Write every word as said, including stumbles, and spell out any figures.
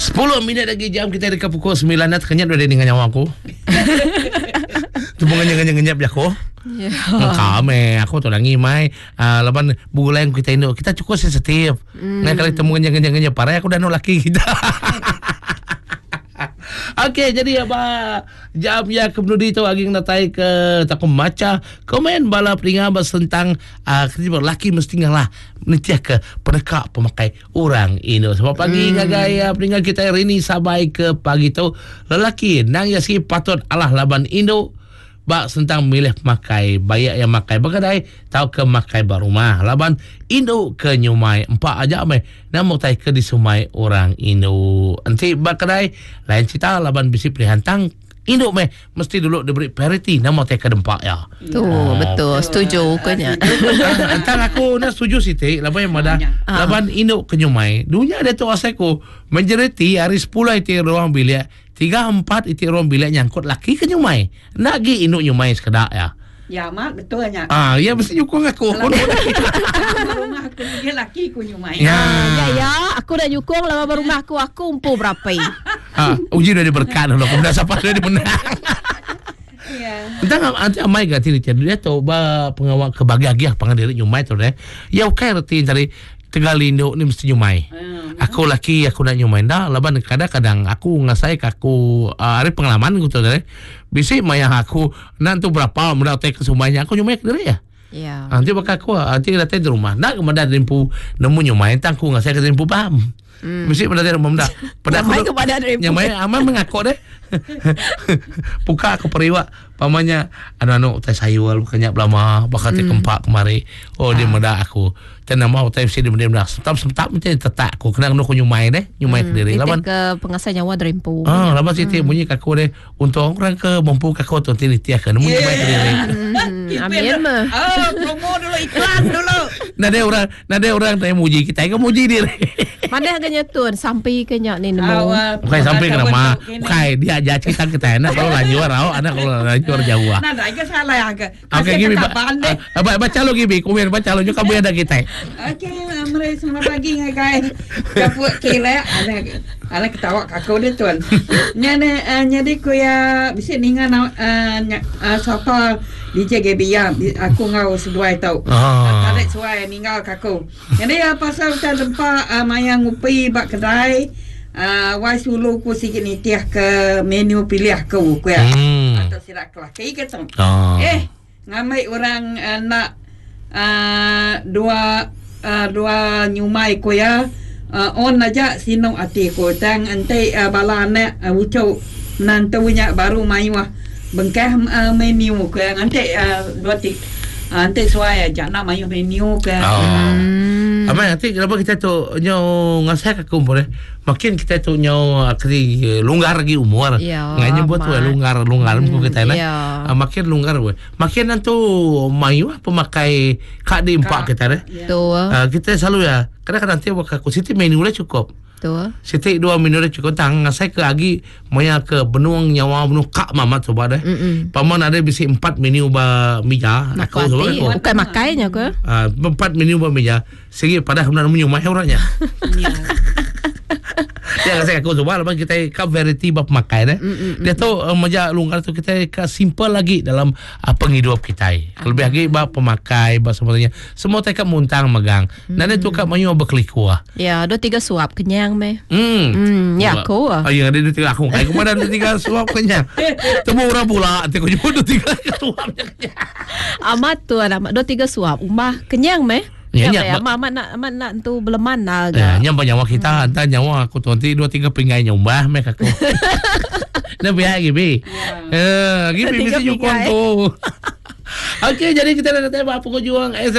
Sepuluh minit lagi jam kita dekat pukul sembilan nak kenyap dah dengan nyawa aku. Tu ngenyap ngenyap aku. Ya. Kame aku tu lagi mai uh, laban begulai kita induk kita cukup sensitif. Mm. Nah kali temu ngenyap ngenyap parah aku dah no laki kita. Okey, jadi apa jam ya kemudian tu agi natai ke tak maca komen bala peninga tentang uh, lelaki mesti ngalah nitiah ke peneka pemakai orang ini. Sebab pagi hmm. ngagai uh, peninga kita hari ini sampai ke pagi tu lelaki nang ya si patut alah laban induk bak sentang milih pemakai bayak yang makai berkedai tau ke makai ba rumah laban induk ke nyumai empat aja meh namu tai ke disumai orang induk enti ba kedai lain cerita laban bisi pilihan tang induk meh mesti dulu diberi priority nama tai ke dempak ya. Tu oh, betul setuju kenya. Entang aku nak setuju siti laban yang madah laban induk ke nyumai dunia dia tu asalku majoriti hari sepuluh iti ruang bilik tiga empat iti ruang bilik nyangkut laki ke nyumai. Nak gi induk nyumai sekedak ya. Ya mak betul nya. Ah ya mesti nyukung aku. Rumah aku dia laki ku nyumai. Ya ya, ya aku dah nyukung lah rumah aku aku empu berapa. Ah uji dah diberkat dulu. Kemudian siapa dah dimenang. Ya. Entang anti amai ga tiri dia tu ba pengawak kebahagiaan pangan diri nyumai tu deh. Ya okey reti tadi Tegal induk ni mesti nyumai. Hmm. Aku laki aku nak nyumai dah laban kadang-kadang aku ngasai ke aku uh, hari pengalaman aku tu deh. Bisi maya aku nak tu berapa mudah tek ke sumainya aku nyumai ke diri ya. Ya. Nanti bakal aku nanti datang di rumah. Nak kemudian rimpu nemu nyumai tang aku ngasai ke rimpu paham. Hmm. Bisi pada rumah dah. Pada aku kepada rimpu. Nyamai aman mengaku deh. Buka aku periwak pamannya anu-anu utai sayur bukannya belama bakal hmm. kempak kemari. Oh dia ah. Aku. Dan nama utai mesti dia dia sentap-sentap mesti tetak aku kena kena aku nyumai deh, nyumai hmm. diri. Laban ke pengasai nyawa derimpu. Ah, laban siti hmm. bunyi kaku deh. Untuk orang ke mampu kaku tu tini tiak ke nemu nyumai diri. Hmm. Amin mah. Oh, promo dulu iklan dulu. Nade orang, nade orang tak muji kita, ke muji diri. Mana agaknya tuan sampai ke nyak ni nemu. Bukan sampai ke nama. Bukan dia aja cerita kita enak kalau lanjut rau, anak kalau lanjut jauh. Nah, dah ke salah ke. Okey, gibi. Baca lu gibi, komen baca lu juga kamu ada kita. Okey, mari selamat pagi guys. Kapuk kira ana ana ketawa aku dia tuan. Nyane jadi ku ya bisi ninga sapa D J G B ya aku ngau seduai tau. Tarik suai ninggal kaku. Jadi pasal kita tempat maya ngupi bak kedai Uh, wai sulu ku sikit nitiah ke menu pilih aku ku ya. Hmm. Atau silap kelaki ke tu. Oh. Eh, ngamai orang uh, nak uh, dua uh, dua nyumai ku ya. Uh, on aja sinong ati ku tang ente uh, bala anak uh, ucuk menantunya baru mayuah bengkah uh, menu ku ya. Ante uh, dua tik uh, ante suai aja nak mayuh menu ke. Oh. Hmm. Amai nanti kenapa kita tu nyo ngasai ke kumpul eh? Makin kita tu nyo kri longgar lagi umur. Ya, ngai nyebut tu longgar longgar hmm, kita nak. Ya. Makin longgar we. Makin nanti mayu pemakai kak di empat kita deh. Ya. Uh, kita selalu ya. Kadang-kadang nanti waktu aku siti menu dah cukup. Betul. Siti dua menu dah cukup tang ngasai ke agi maya ke benung nyawa benung kak mamat coba deh. Mm-mm. Paman ada bisi empat menu ba mija aku coba aku. Bukan makainya ke? Ah uh, empat menu ba mija. Sigi pada nemu nyumai orangnya. Ya kasi aku coba lepas kita ke variety bab makai deh. Mm, mm, Dia tu uh, meja longgar tu kita ke simple lagi dalam uh, penghidup kita. Lebih lagi bab pemakai bab semuanya. Semua teka muntang megang. Mm. Nanti tu kat mayu berkelikuah. Ya, dua tiga suap kenyang meh. Hmm. Hmm, ya aku. Oh, ya ada dua tiga aku. Aku mana dua tiga suap kenyang. Temu orang pula, nanti aku jemput dua tiga suap kenyang. Amat tu amat dua tiga suap umah kenyang meh. Ya, ya, ya, amat amat nak amat nak tu beleman lah. Ya, nyampa nyawa kita, hmm. Entah nyawa aku tu nanti dua tiga pinggai nyumbah mek aku. Nah biar gibi. Eh, gibi mesti nyukong tu. Okey, jadi kita dah datang apa juang